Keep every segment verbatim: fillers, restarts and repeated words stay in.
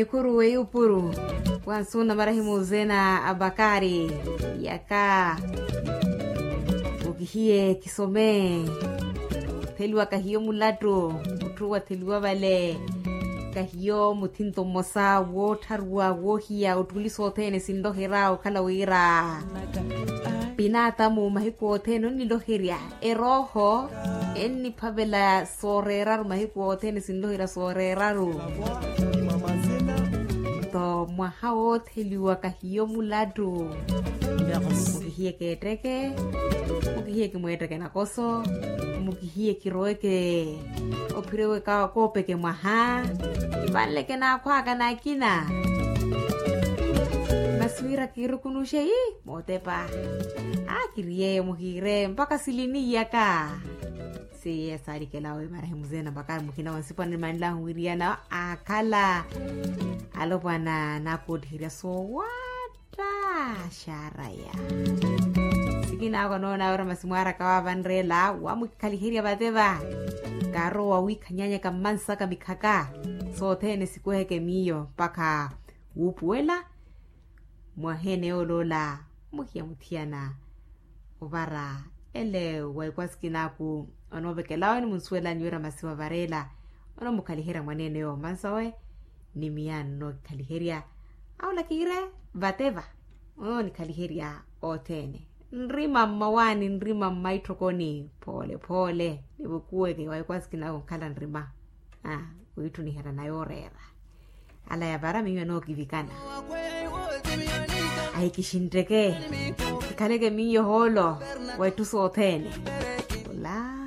Ekuru weyupuru. Wansu na marahimu zena abakari yaka. Mukihiye kisome. Theliwa kahiyo mulatu. Mutthu watheliwa vale. Kahiyo muthinto mmosa woottharuwa woohiya ottuliso othene sinloherya okhala wira pinatamu mahiku othene onniloherya. Erooho enniphavela sooreeraru mahiku othene sinloherya sooreeraru. Nto mwaha wootheliwa kahiyo mulattu. Mukihiyeke etteke. Mukihiyeke mweetteke nakoso. Mukihiyeke iroweke. Ophireweke koopeke mwaha. Kivanleke naakhwaka nakina. Masi wira kiirukunuxe ii mootepa. Aa kiriyeyo muhiire mpakha silini iyaka. Seiye saalikela owe marahimu zena mpakha mukhina wa nsipa nimanlahu wiriyana aakhala. Alopwana naakoottihirya soowatta. Xaaraya. Sikinaako noona wira masi mwaaraka waavanreela wamukikhaliherya vateva. Kaarowa wiikhanyanyaka mmansaka mikhaka. Sothene sikuheke miyo mpakha wuupuwela. Mwaheene yooloola muhiya muthiyana ovara ele wa ikwasikinaku. Onoovekelawe nimunsuwelani wira masi wavareela onomukhaliherya mwaneene yoomansawe. Ni miyaani onookikhaliherya awo lakire vateva. Onoonikhaliherya othene nrima mmawaani nrima mmaitthokoni phoole phoole nivukuweke wa ikwasikinaku nkhala nrima. Aa wiitthuniherya na yooreera. Ala yapara miyo anookivikana. Ahikixintteke. Kikhaleke miyo hoolo wa itthu sothene. Ola.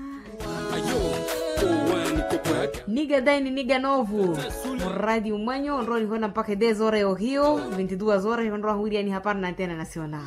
Niga daini niga novu. Muradi umwanyu onrowa nihona mpakha e dez horas yohiyo vinti duas horas onrowa huwiriyani hapara na antena nacional.